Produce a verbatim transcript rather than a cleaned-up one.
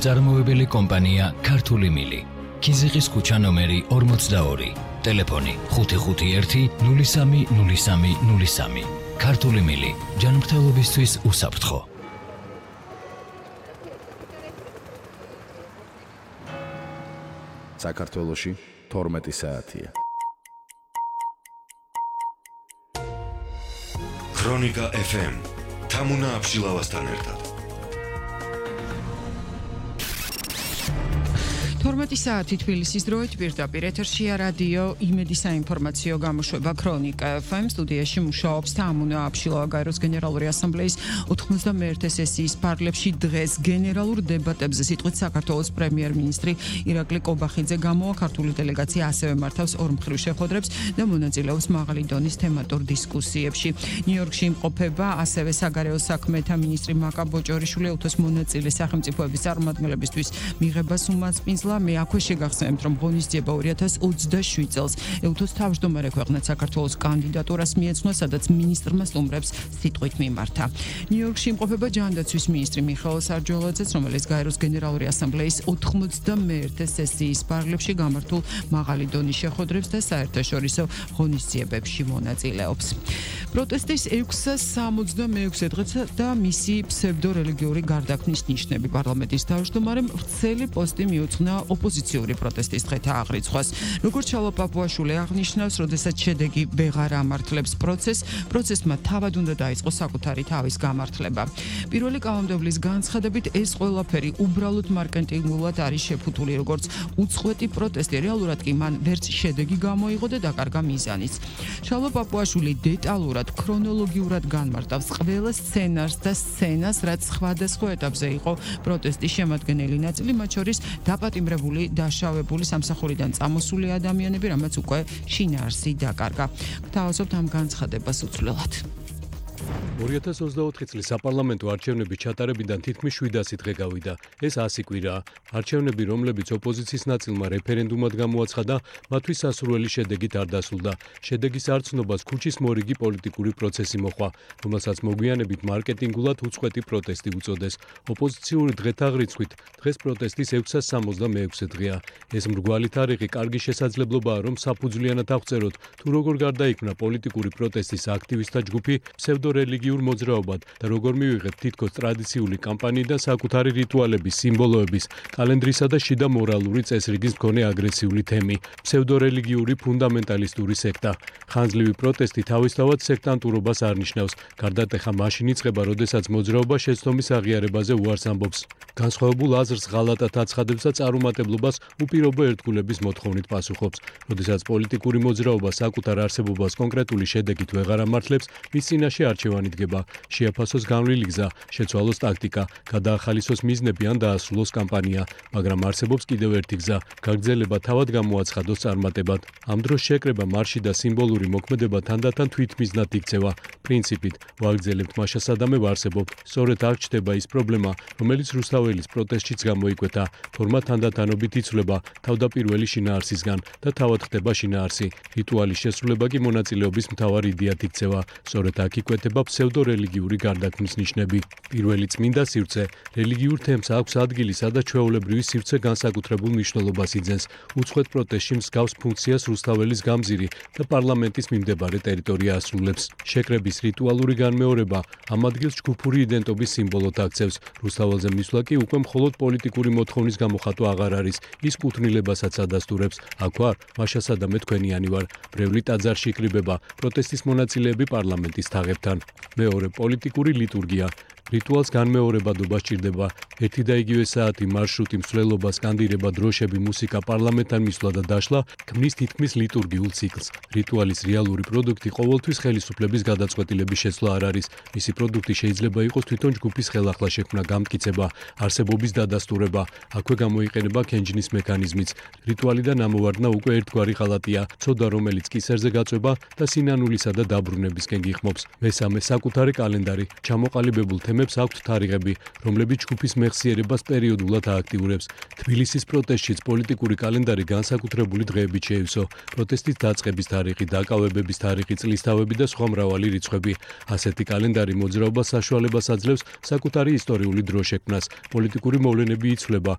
წარმოებელი კომპანია ქართული მილი. ქიზიყის ქუჩა ნომერი ორმოცდაორი. ტელეფონი ხუთი ხუთი ერთი ნული სამი ნული სამი ნული სამი. ქართული მილი. ჯანმრთელობისთვის უსაფრთხო. საქართველოში თორმეტი საათია. ქრონიკა ეფ ემ თამუნა აბშილავასთან ერთად. თორმეტი საათი თბილისის დროით პირდაპირ ეთერშია რადიო იმედი საინფორმაციო გამოშვება ქრონიკა ეფ ემ. სტუდიაში მუშაობს თამუნა აბშილავა. გაეროს გენერალური ასამბლეის ოთხმოცდამეერთე სესიის ფარგლებში დღეს გენერალურ დებატებზე სიტყვით საქართველოს პრემიერ-მინისტრი ირაკლი კობახიძე გამოვა. ქართული დელეგაცია ასევე მართავს ორმხრივ შეხვედრებს და მონაწილეობს მაღალი დონის თემატურ დისკუსიებში. ნიუ-იორკში იმყოფება ასევე საგარეო საქმეთა მინისტრი მაკა ბოჭორიშვილი. უთოს მონაწილე სახელმწიფოების წარმომადგენლებისთვის მიღებას უმასპინძლა. მე აქვე შეგახსენებთ, რომ ღონისძიება ორი ათას ოცდაშვიდ წელს უთოს თავმჯდომარე ქვეყნად საქართველოს კანდიდატურას მიეცნვა, სადაც მინისტრმა სტუმრებს სიტყვით მიმართა. ნიუ-იორკში იმყოფება ჯანდაცვის მინისტრი მიხეილ სარჯველაძეც, რომელიც გაეროს გენერალური ასამბლეის ოთხმოცდამეერთე სესიის ფარგლებში გამართულ მაღალი დონის შეხვედრებს და საერთაშორისო ღონისძიებებში მონაწილეობს. პროტესტის ექვსას სამოცდამეექვსე დღეც და მისი ფსევდორელიგიური გარდაქმნის ნიშნები. პარლამენტის თავმჯდომარემ ვრცელი პოსტი მიუძღვნა ოპოზიციური პროტესტის დღეთა აღრიცხვას. როგორც ჩალო პაპუაშვილი აღნიშნავს, როდესაც შედეგი ვეღარ ამართლებს პროცესს, პროცესმა თავად უნდა დაიწყოს საკუთარი თავის გამართლება. პირველი კანონმდებლის განცხადებით, ეს ყველაფერი უბრალოდ მარკეტინგულად არის შეფუთული, როგორც უწყვეტი პროტესტი. რეალურად კი მან ვერც შედეგი გამოიღო და დაკარგა მიზანიც. ჩალო პაპუაშვილი დეტალურად, ქრონოლოგიურად განმარტავს ყველა სცენარს და სცენას, რაც სხვადასხვა ეტაპზე იყო პროტესტის შემადგენელი ნაწილი, მათ შორის დაპატიმრებული, დაშავებული, სამსახურიდან წამოსული ადამიანები, რამაც უკვე შინაარსი დაკარგა. გთავაზობთ ამ განცხადებას უცვლელად. ორი ათას ოცდაოთხი წლის საპარლამენტო არჩევნების ჩატარებიდან თითქმის შვიდასი დღე გავიდა. ეს ასი კვირაა. არჩევნები, რომლებიც ოპოზიციის ნაწილმა რეფერენდუმად გამოაცხადა, მათთვის სასურველი შედეგით არ დასრულდა. შედეგის არცნობას ქუჩის მორიგი პოლიტიკური პროცესი მოჰყვა, რომელსაც მოგვიანებით მარკეტინგულად უწყვეტი პროტესტი უწოდეს. ოპოზიციური დღეთა აღრიცხვით დღეს პროტესტის ექვსას სამოცდამეექვსე დღეა. ეს მრგვალი თარიღი კარგი შესაძლებლობაა, რომ საფუძვლიანად აღწეროთ, თუ როგორ გარდაიქმნა პოლიტიკური პროტესტის აქტივისტთა ჯგუფი ფსევდორელიგიურ მოძრაობად და როგორ მივიღეთ თითქოს ტრადიციული კამპანიიდან საკუთარი რიტუალების, სიმბოლოების, კალენდრისა და შიდა მორალური წესრიგის მქონე აგრესიული თემი, ფსევდორელიგიური ფუნდამენტალისტური სექტა. ხანძლივი პროტესტი თავისთავად სექტანტურობას არ ნიშნავს. გარდატეხა მაშინ იწყება, როდესაც მოძრაობა შეცდომის აღიარებაზე უარს ამბობს. განსხვავებულ აზრს ღალატად აცხადებს და წარუმატებლობას უპირობო ერთგულების მოთხოვნით პასუხობს. როდესაც პოლიტიკური მოძრაობა საკუთარ არსებობას კონკრეტული შედეგით ვეღარ ამართლებს, მის წინაშე არჩევანი დგება, შეაფასოს განვლილი გზა, შეცვალოს ტაქტიკა, გადაახალისოს მიზნები ან დაასრულოს კამპანია, მაგრამ არსებობს კიდევ ერთი გზა, გაგრძელება თავად გამოაცხადოს წარმატებად. ამ დროს შეკრება, მარში და სიმბოლური მოქმედება თანდათან თვითმიზნად იქცევა. პრინციპით, ვაგრძელებთ მაშა სადამე ვარსებობთ. სწორედ აქ ჩნდება ის პრობლემა, რომელიც რუსთაველის პროტესტშიც გამოიკვეთა. ფორმა თანდათანობით იცვლება თავდაპირველი შინაარსისგან და თავად ხდება შინაარსი. რიტუალის შესრულება კი მონაწილეობის მთავარ იდეად იქცევა. სწორედ აქ იკვეთება ფსევდორელიგიური გარდაქმნის ნიშნები. პირველი წმინდა სივრცე რელიგიურ თემს აქვს ადგილი, სადაც ჩვეულებრივი სივრცე განსაკუთრებულ მნიშვნელობას იძენს. უწყვეტ პროტესტში მსგავს ფუნქციას რუსთაველის გამზირი და პარლამენტის მიმდებარე ტერიტორია ასრულებს. შეკრების რიტუალური განმეორება ამ ადგილს ჯგუფური იდენტობის სიმბოლოდ აქცევს. რუსთაველზე მისვლა კი უკვე მხოლოდ პოლიტიკური მოთხოვნის გამოხატვა აღარ არის, ის კუთვნილებასაც ადასტურებს. აქ ვარ, მაშა სადამე თქვენიანი ვარ. ბრეული ტაძარში იკრიბება, პროტესტის მონაწილეები პარლამენტის თაღებთან. მეორე პოლიტიკური ლიტურგია. რიტუალს განმეორებადობა სჭირდება. ერთი და იგივე საათი, მარშრუტი, მსვლელობა, სკანდირება, დროშები, მუსიკა, პარლამენტთან მისვლა და დაშლა ქმნის თითქმის ლიტურგიულ ციკლს. რიტუალის რეალური პროდუქტი ყოველთვის ხელისუფლების გადაწყვეტილების შეცვლა არ არის. მისი პროდუქტი შეიძლება იყოს თვითონ ჯგუფის ხელახლა შექმნა, გამტკიცება, არსებობის დადასტურება. აქვე გამოიყენება ქენჯნის მექანიზმიც. რიტუალიდან ამოვარდნა უკვე ერთგვარი ღალატია, ცოდა რომელიც კისერზე გაწვება და სინანულისა და დაბრუნებისკენ გიხმობს. მესამე საკუთარი კალენდარი, ჩამოყალიბებულ თემებს თემებს აქვთ თარიღები, რომლებიც ჯგუფის მეხსიერებას პერიოდულად ააქტიურებს. თბილისის პროტესტშიც პოლიტიკური კალენდარი განსაკუთრებული დღეებით შეივსო. პროტესტის დაწყების თარიღი, დაკავებების თარიღი, წლისთავები და სხვა მრავალი რიცხვები. ასეთი კალენდარი მოძრაობას საშუალებას აძლევს საკუთარი ისტორიული დრო შექმნას. პოლიტიკური მოვლენები იცვლება,